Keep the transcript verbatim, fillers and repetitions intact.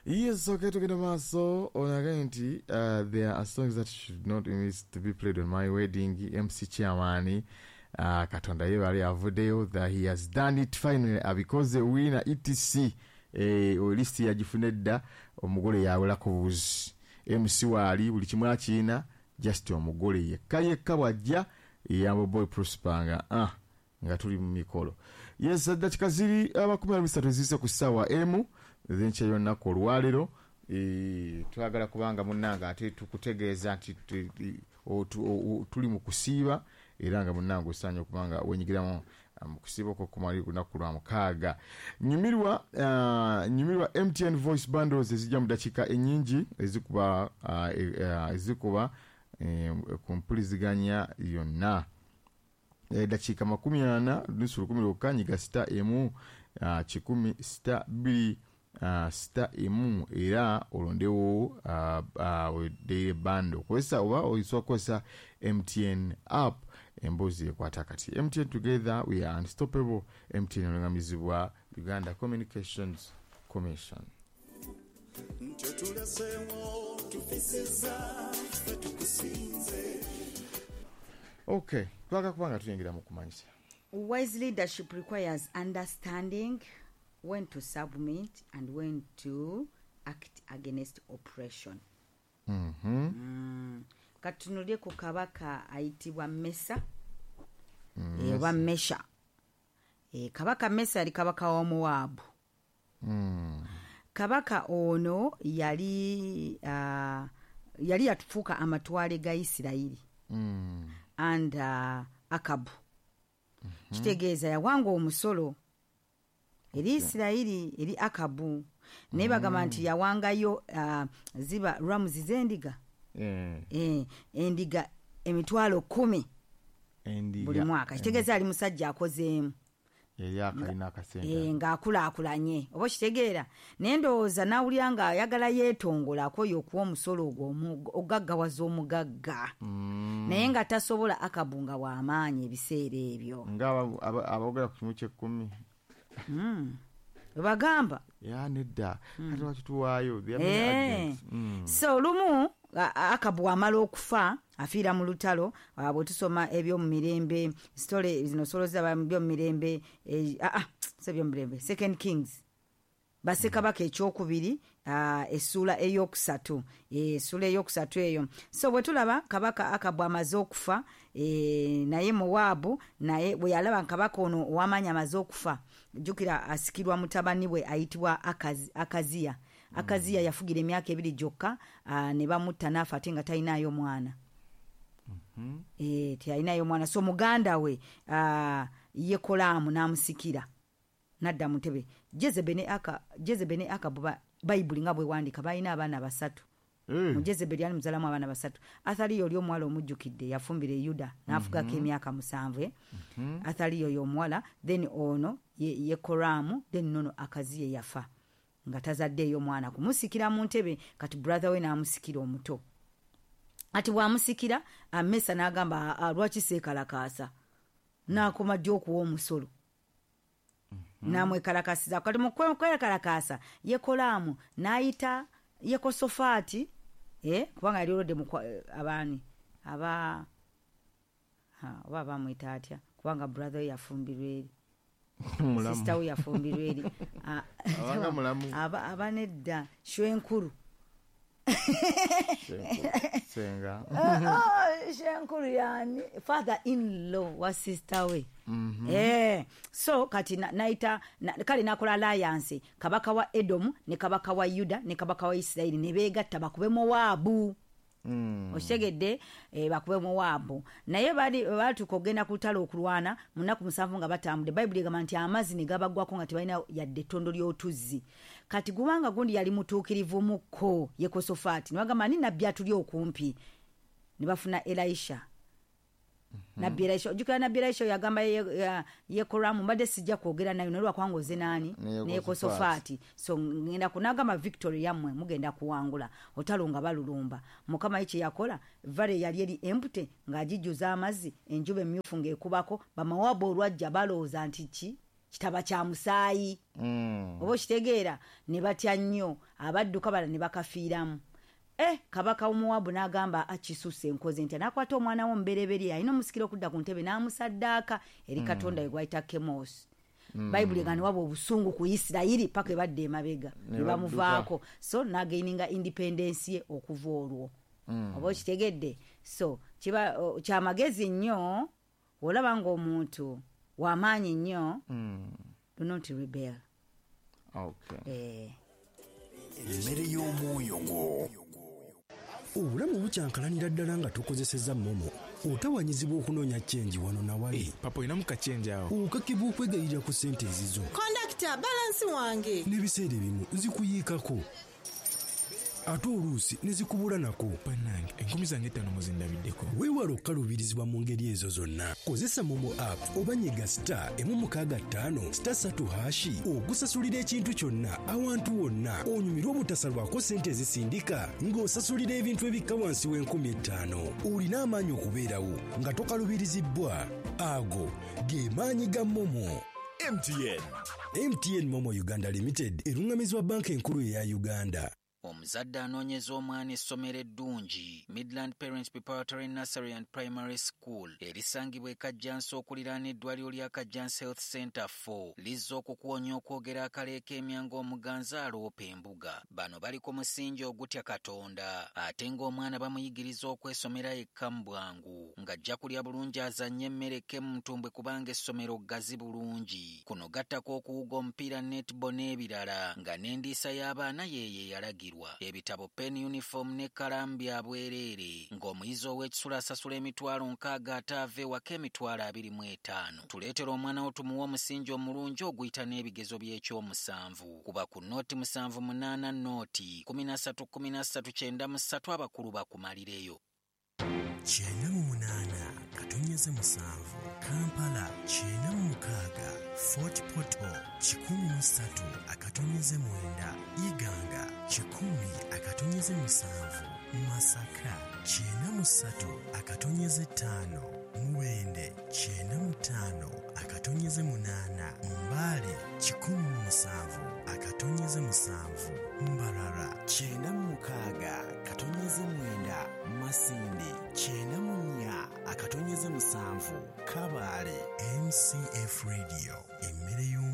Yes, okay, tugenda maaso. Onagaye nti uh, there are songs that should not miss to be played on my wedding. M C chairman, uh, Katonda yebali avuddeyo that he has done it finally, abikoze wina et cetera. Eh, list yagifuna edda, omugole yawolako buzi, M C waali, buli kimu akiina, just omugole yekka yekka bwajja. Yambo Boy Prosper nga ah, nga tuli mu mikolo. Yes, dakika ziri amakumi abiri bisatu eziyise ku ssaawa emu ezenkya y'olunaku olwaleero. Eh, twagala kubanga munnange ate tukutegeeza nti tu- o- tu- o- o- tuli mu kusiiba, era nga munnange osaanye okubanga wenyigiramu ah, mu kusiiba okwo kumali lunaku lwa mukaaga. Nyumirwa, ah, nyumirwa M T N voice bundles ezijja mu dakiika ennyingi ezikuba ah, eh, ah, ezikuba eh, ku mpuliziganya yonna. Dakiika makumi ana nusu lukumi lwokka. Nyiga star emu ah, kikumi star bbiri ah, star emu era olondewo ah, ah, daily bundle okozesa, oba oyinza okukozesa M T N app. Emboozi ekwata kati. M T N, together we are unstoppable. M T N olungamizibwa Uganda Communications Commission. Nti otuleseewo tufisiza ffe tukusinze. Okay, twagala kuba nga tuyingira mu kumanyisa. Wise leadership requires understanding when to submit and when to act against oppression. Mhm. Mm. Katunulye ku kabaka ayitibwa Mesa. Mm, eh, oba Mesha. Eh, kabaka Mesa yali kabaka wa Mowaabu. Mm. Kabaka ono yali uh, yali yatufuuka amatwale ga Isirayiri Mm. and uh, Akabu. Kitegeeza yawanga omusolo eri Isirayiri, eri Akabu, naye bagamba nti yawangayo uh, ziba rams z'endiga, Eh, eh, endiga emitwalo kumi endiga. buli mwaka. Kitegeeza ali musajja akozeemu. Yali akalina akasente. Eh, ng'akulaakulanye, oba okitegeera? Naye ndowooza n'awulira ng'ayagala yeetongola, akoye okuwa omusolo ogwo omu- ogaggawaza omugagga. Mm. Naye nga tasobola. Akabu nga w'amaanyi ebiseera ebyo. Nga aba- aba- aboogera ku kimu kyekkumi. Webagamba. Ya nedda, kati lwaki tuwaayo? There are many Eh. arguments. Mm. So lumu a- a- Akabu amala okufa, afiira mu lutalo. ah, bwe tusoma ebyomumirembe, story zino solo zaba ebyomumirembe, eh, ah, ah, si ebyomumirembe, Second Kings, Bassekabaka ekyokubiri, ah, essuula eyokusatu. Eh, essuula eyokusatu eyo. So bwe tulaba kabaka Akabu amaze okufa, eh, naye Mowaabu naye bwe yalaba kabaka ono ow'amaanyi amaze okufa, jjukira asikirwa mutabani we ayitibwa Akazi- akaziya Akaziya yafugira emyaka ebiri gyokka, ah, ne bamutta n'afa, ate nga talinayo mwana. Eh, teyalinayo mwana. So muganda we ah, Yekolaamu n'amusikira nadda mu ntebe. Jezebe ne Aka- Jezebe ne Akabu, ba- Bayibuli nga bwewandika, balina abaana basatu. Eh. Mu Jezeberi ali muzalamu abaana basatu. Athaliya oli omuwala omujjukidde, yafumbira e Yuda n'afugako emyaka musanvu, eh? Athaliya oyo omuwala, then ono ye- Yekoramu, then nono Akaziye yafa nga tazaddeeyo mwana kumusikira mu ntebe. Kati brother we n'amusikira omuto. Ati bw'amusikira, Amesa n'agamba, "Ah, lwaki seekalakaasa? N'akoma ddi okuwa omusolo?" N'amwekalakasiza. Kati mu kwekalakaasa, Yekolaamu n'ayita Yekosofaati, eh, kubanga yali olwedde mu kwa- eh, abaani aba ha, oba abamwita atya, kubanga brother we yafumbirwa eri. Mulamu. Sister we yafumbirwa eri. Ah, Abanga mulamu. aba aba nedda, shwenkulu. Senga. Ah, shenkulu yani father in law wa sister we. Eh, so kati na- naita na, kale nakola alliance, kabaka wa Edomu ne kabaka wa Yuda ne kabaka wa Isirayiri ne beegatta bakube Mowaabu. Mm. Okitegedde? eh, bakube Mowaabu. Naye bali batuuka okugenda ku lutalo okulwana, mu nnaku musanvu nga batambudde, Bayibuli egamba nti amazzi ne gabaggwako nga tebalina yadde ettondo ly'otuzzi. Kati kubanga gundi yali mutuukirivu mukko Yekosofaati, ne bagamba, "Ani nabbi atuli okumpi?" Ne bafuna Elisha, nabbi Elisha. Ojjukira nabbi Elisha yagamba Ye- ya- Yekoramu, "Mbadde sijja kwogera nayo, naye lwakubanga oze naani?" Ne Ne Yekosofaati. So ngenda kunagamba victory yammwe, mugenda kuwangula otalo. Nga balulumba, Mukama ye kyeyakola, valley yali eri empty ng'agijjuza amazzi, enjuba emyufu ng'ekubako. Bamawaabu olwajja balowooza nti ki Kitaba kya musaayi. Mm. Oba okitegeera ne batya nnyo abadduka bala ne bakafiiramu. Eh, kabaka w'Omuwabu n'agamba akisusse enkoze nti n'akwata omwana we omubereberye alina omusikira okudda ku ntebe n'amusaddaaka eri Mm. Katonda we gwayita Kemosi. Mm. Bayibuli egamba ne waba obusungu ku Isirayiri paka ebadde emabega Ne ne bamuvaako. badduka. So n'againinga independence ye okuva olwo. Mm. Oba okitegedde? So kiba o, kyamagezi nnyo olaba ng'omuntu w'amaanyi nnyo Mm. do not rebel. Okay. Eh. Emmere y'omwoyo gwo. Obulamu bukyankalanira ddala nga tukozesezza momo. Otawanyizibwa okunoonya kyenji wano na wali. Papa olinamu kachenji awo. Okakibwa okwegayirira ku ssente ezizo. Kondakita, balansi wange. N'ebiseera ebimu zikuyiikako. Ate oluusi ne zikubula nako. Bannange, enkumi zange ttaano muzindabiddeko. Weewale okukaluubirizibwa mu ngeri ezo zonna. Kozesa Momo app oba nyiga star emu mukaaga ttaano star ssatu hashi okusasulira ekintu kyonna awantu wonna onyumirwe obutasalwako ssente ezisindika ng'osasulira ebintu ebikka wansi w'enkumi ettaano. Olina amaanyi okubeerawo nga tokalubirizibbwa. Ago ge maanyi ga Momo. M T N. M T N Momo Uganda Limited erungamizibwa banka enkulu eya Uganda. Omuzadde anoonyeza omwana essomero eddungi Midland Parents Preparatory Nursery and Primary School erisangibwa e Kajjansi okuliraana eddwaliro lya Kajjansi Health Center four lizza okukuwonya okwogera akaleeka emyango omuganzi aloopa embuga. Bano bali ku musingi ogutya Katonda ate ng'omwana bamuyigiriza okwesomera yekka mu bwangu ng'ajja kulya bulungi azannye emmere eke mu ntumbwe kubanga essomero ggazi bulungi. Kuno gattako okuwuga omupiira netball n'ebirala nga n'endiisa y'abaana yeeyo eyalagirwa. Ebitabo, pen, uniform ne kkalaamu bya bwereere ng'omuyizi ow'ekisula asasula emitwalo nkaaga ate ava ewaka emitwalo abiri mu etaano. Tuleetera omwana wo tumuwe omusingi omulungi oguyita n'ebigezo by'ekyomusanvu. Kuba ku nooti musanvu munaana nooti kumi na ssatu kumi na ssatu kyenda mu ssatu abakulu bakumalireyo. Kyenda mu munaana katonyeze musanvu Kampala kyenda mu mukaaga Fort Portal kikumi mu ssatu akatonyeze mwenda Iganga kikumi akatonyeze musanvu Masaka kyenda mu ssatu akatonyeze ttaano Mubende kyenda mu ttaano akatonyeze munaana Mbale kikumi mu musanvu akatonyeze musanvu Mbarara kyenda mu mukaaga katonyeze mwenda Masindi kyenda mu nnya akatonyeze musanvu Kabale. M C F Radio emmere y'omu